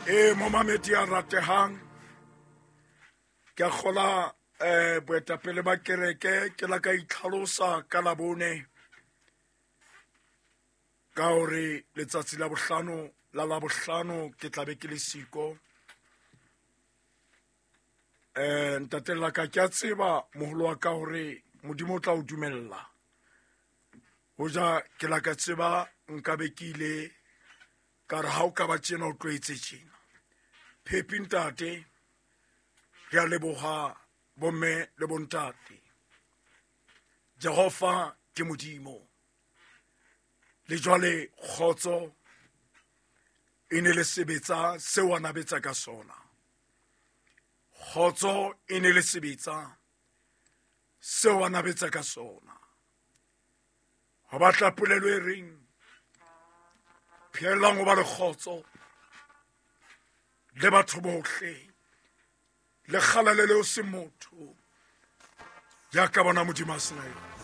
Ee, momamedi ya ratehang, ke a kgola boetapele ba kereke ke la ka itlhalosa ka Labone ka hore letsatsi la bohlano la Labohlano ke tlabe ke le siko. Ntate la ka, ke a tseba moholo wa ka hore Modimo o tla o dumella. Hoja ke la ka tseba nka be ke ile ka re ha o ka ba tjena o tlo etse tjena. Phepi ntate, re a leboha bomme le bontate. Jehova ke Modimo. Le jwale kgotso e ne le sebetsa seo a nabetsa ka sona. Kgotso e ne le sebetsa seo a nabetsa ka sona. Ho batla polelo e reng pheellang ho ba le kgotso le batho bohle le kgalalelo se motho ya ka bona Modimo a sena yona.